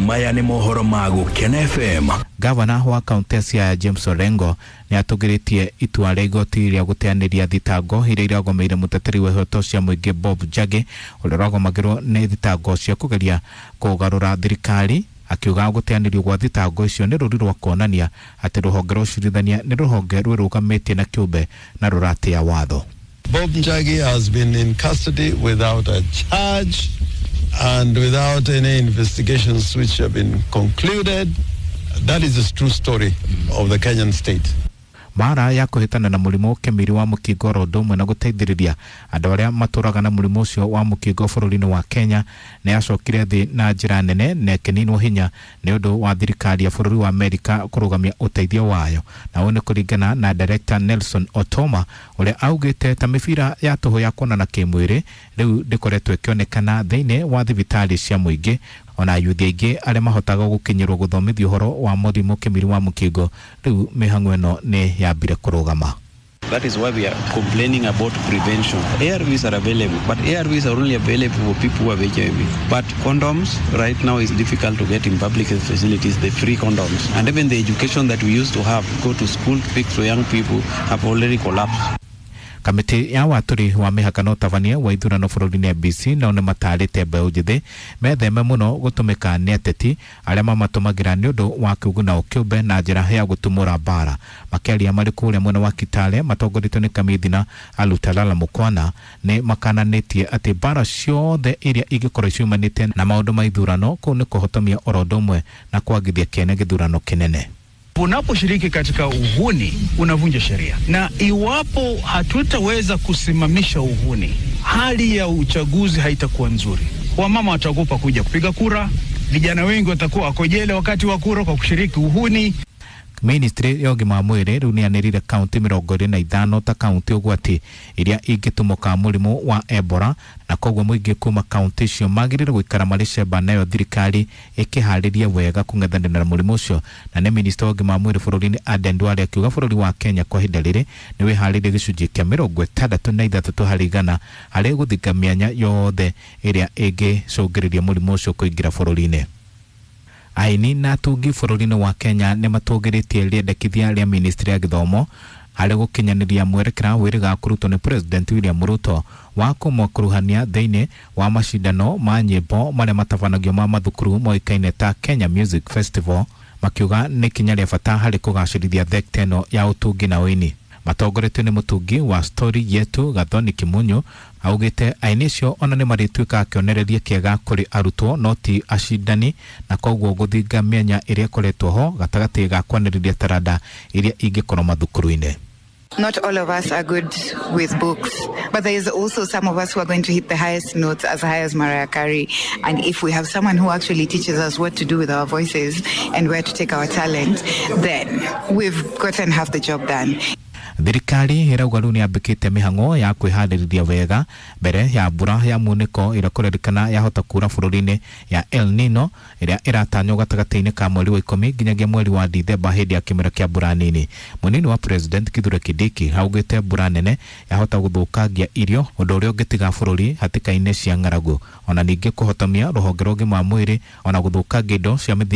Maya nĩ mohoro ma Gũkena FM. Gavana wa kaunti ya Siaya James Orengo nĩ atũgĩrĩtie itua rĩa igoti rĩa gũteanĩria thitango iria iragomeire mũteteri wa ihoto cia mũingĩ Bob Njagi, ũrĩa ũragomagĩrwo nĩ thitango cia kũgeria kũgarũra thirikari, akiuga gũteanĩrio gwa thitango icio nĩ rũri rwa kuonania atĩ rũhonge rwa ũcirithania nĩ rũhonge rwĩrũgamĩtie na kĩũmbe na rũratĩa watho. Bob Njagi has been in custody without a charge and without any investigations which have been concluded. That is the true story of the Kenyan state. Mara ya kũhĩtana na mũrimũ kĩmiri wa mũkingo oro ũndũ ũmwe na gũteithĩrĩria andũ arĩa matũraga na mũrimũ ũcio wa mũkingo bũrũri-inĩ wa Kenya nĩ yacokire thĩ na njĩra nene na ĩkĩninwo hinya nĩ ũndũ wa thirikari ya bũrũri wa Amerika kũrũgamia ũteithio wayo, na ũũ nĩ kũringana na Director Nelson Otoma, ũrĩa augĩte ta mĩbira ya tũhũ ya kuonana kĩmwĩrĩ rĩu ndĩkoretwo ĩkĩonekana thĩinĩ wa thibitarĩ cia mũingĩ, ona yuthi aingĩ arĩa mahotaga gũkinyĩrwo gũthomithio ũhoro wa mũrimũ kĩmiri wa mũkingo rĩu mĩhang'o ĩno nĩ yambire kũrũgama. That is why we are complaining about prevention. ARVs are available, but ARVs are only available for people who have HIV. But condoms right now is difficult to get in public facilities, the free condoms. And even the education that we used to have, go to school, speak to young people, have already collapsed. Kamĩtĩ ya watũri wa mĩhaka na ũtabania wa ithurano bũrũri-inĩ NBC nao nĩ matarĩte mbeũ njĩthĩ metheme mũno gũtũmĩka nĩ ateti arĩa mamatũmagĩra nĩ ũndũ wa kĩũguna o kĩũmbe na njĩra ya gũtumũra mbara. Makĩaria marĩ kũrĩa mwena wa Kitale matongoretio nĩ Kamithina Alutalala Mukwana nĩ makananĩtie atĩ mbara ciothe iria ingĩkorwo ciumanĩte na maũndũ ma ithurano kũu nĩ kũhotomia oro ũndũ ũmwe na kwagithia kĩene gĩthurano kĩnene. Unaposhiriki katika uhuni unavunja sheria, na iwapo hatutaweza kusimamisha uhuni, hali ya uchaguzi haitakuwa nzuri. Wamama wataogopa kuja kupiga kura, vijana wengi watakuwa wako jela wakati wa kura kwa kushiriki uhuni. Ministry ya ũgima wa mwĩrĩ rĩu nĩyanĩrĩire kaunti 25 ta kaunti ũgwati iria ingĩtumũka mũrimũ wa Ebola, na koguo mũingĩ kuma kaunti icio magĩrĩire gũikara marĩ cemba nayo thirikari ĩkĩharĩria wega kũng'ethanĩra na mũrimũ ũcio. Na nĩ minista wa ũgima wa mwĩrĩ bũrũri-inĩ Aden Duale akiuga bũrũri wa Kenya kwa ihinda rĩrĩ nĩ wĩharĩirie gĩcunjĩ kĩa 63% harĩ gũthinga mĩanya yothe ĩrĩa ĩngĩcũngĩrĩria mũrimũ ũcio kũingĩra bũrũri-inĩ. Aini na atungi bũrũri-inĩ wa Kenya nĩ matũgĩrĩtie rĩendekithia rĩa ministry ya gĩthomo harĩ gũkinyanĩria mwerekera wĩrĩga kũrutwo nĩ President William Ruto wa kũmakuruhania thĩinĩ wa macindano ma nyĩmbo marĩa matabanagio ma mathukuru moĩkaine ta Kenya Music Festival, makiuga nĩ ikinya rĩa bata harĩ kũgacĩrithia thekta ĩno ya ũtungi na ũini. Matongoretio nĩ mũtungi wa Story Yetu Gathoni Kimunyu augĩte aini acio ona nĩ marĩtuĩkaga kĩonereria kĩega kũrĩ arutwo no ti acindani, na koguo gũthinga mĩanya ĩrĩa ĩkoretwo ho gatagatĩ ga kwanĩrĩria taranda iria ingĩkorwo mathukuru-inĩ. Not all of us are good with books, but there is also some of us who are going to hit the highest notes, as high as Mariah Carey. And if we have someone who actually teaches us what to do with our voices and where to take our talent, then we've gotten half the job done. Thirikari ĩrauga rĩu nĩyambĩkĩte mĩhang'o ya kwĩharĩrĩria wega mbere ya mbura ya munĩko ĩrĩa kũrerĩkana yahota kura bũrũri-inĩ ya El Nino ĩrĩa ĩratanywo gatagatĩ-inĩ ka mweri wa 10 nginyagia mweri wa Dithemba hĩndĩ ya kĩmera kĩa mbura nini. Mũnini wa President Kithure Kindiki augĩte mbura nene yahota gũthũkangia irio, ũndũ ũrĩa ũngĩtiga bũrũri hatĩka-inĩ cia ng'aragu, ona ningĩ kũhotomia rũhonge rwa ũgima wa mwĩrĩ ona gũthũkangia indo cia mĩthingi.